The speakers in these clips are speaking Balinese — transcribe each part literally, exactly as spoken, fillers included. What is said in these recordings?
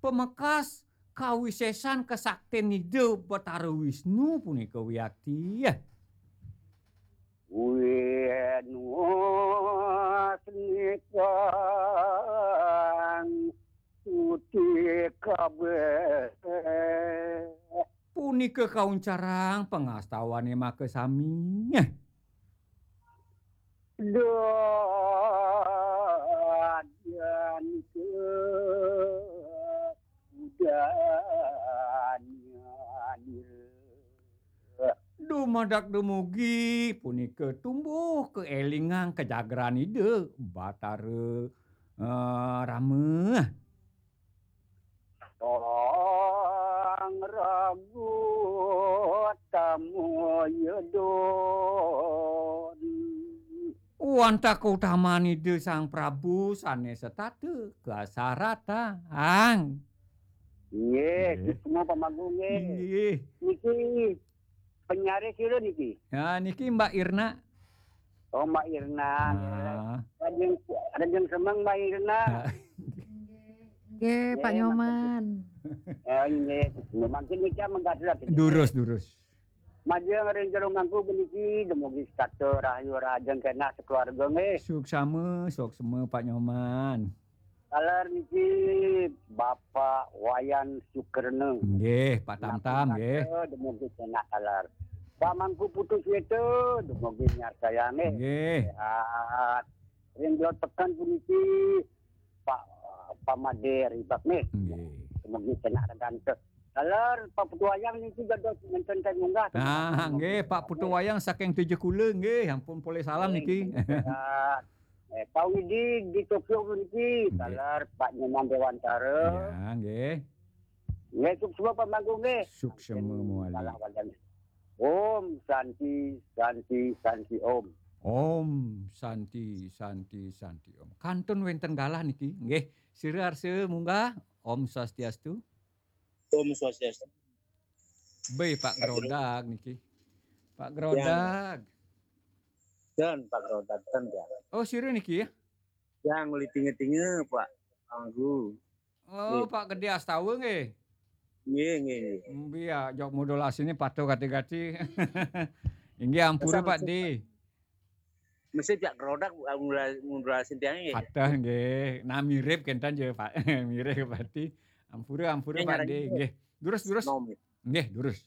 pamekas kawisésan kasaktin Ida Batara Wisnu punika wiakti. Wisnu snikang suci kabéh. Punika kauncarang pangastawané makasami. Dadian ke udananira. Dumadak dumugi punika tumbuh kaélingang kajagran Ida Batara, eh, Rama. Tolong ragu tamu yedon. Wantah kautaman Ida Sang Prabu sané setata kasaratang. Nggih, nggih. Semua pamagung nggih. Nggih. Niki penyiar sira niki? Ya, niki Mbak Irna. Oh, Mbak Irna. Ah. Rajin, rajin semeng Mbak Irna. Ah. Nggih, Pak Nyoman. Ya, nggih. Mangkin niki menggaduh. Durus, durus. Majeng ring jero mangku puniki dumugi setata rahayu rahajeng kenah sekeluarga nggih. Suksma, suksma Pak Nyoman. Taler niki Bapak Wayan Sukerna. Nggih, Pak Tamtam nggih. Dumugi kenah taler. Pak Mangku Putu Sweta dumugi nyarsayang nggih. Nggih. Sehat. Ring Blot Peken puniki Pak Pamade Ribak nggih. Nggih. Dumugi kenah reganta. Taler Pak Putu Wayang niki dados ngenten ten munggah. Ah, nggih, Pak Putu Wayang saking Tejekula nggih, ampun polih salam niki. Nggih, sehat. Eh, Pak Widi di Tokyo niki, nggih. Taler Pak Nyoman Dewantara. Ya, nggih. Nggih, suksma pamangku nggih. Suksma mawali. Salah wajan. Om Santi, Santi, Santi Om. Om Santi, Santi, Santi Om. Kantun wénten galah niki, nggih. Sira arsa munggah. Om Swastiastu. Om Swastiastu. Béh, Pak Grodag niki. Pak Grodag. Dan Pak Grodag, ten, ya. Oh, sira niki ya? Yang uli tinga-tinga, Pak Anggu. Oh, nggih. Pak Gedé Astawa nggih. Nggih, nggih, nggih. Mbi ya, jok modulasiné patuh gati-gati. Inggih ampura, Pak Di. Mesti jak Grodag, ngula-, ngulasin tiang nggih. Patuh nggih. Nah, mirip kénten ya, Pak. Mirip Pak Di. Ampura, ampura, nggih, Pak Di. Nggih. Durus, durus. Nom. Nggih, durus.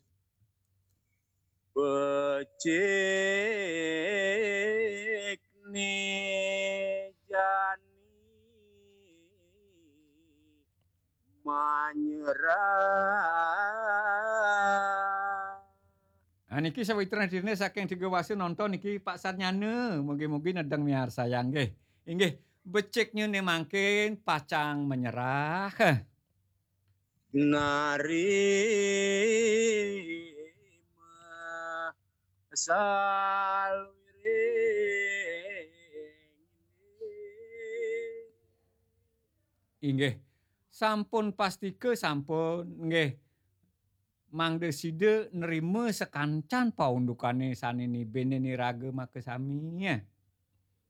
Becik ni jani manyerah. Nah, niki sawitra hadirne saking Tiga Wasa nonton niki Pak Sarnyana. Mugi-mugi nedeng miarsayang nggih. Inggih, beciknya ne mangkin pacang menyerah. Narima saluiring. Inggih, sampun pastika sampun, nggih. Mangda sida nrima sakancan paundukane sane nibene niraga makasami.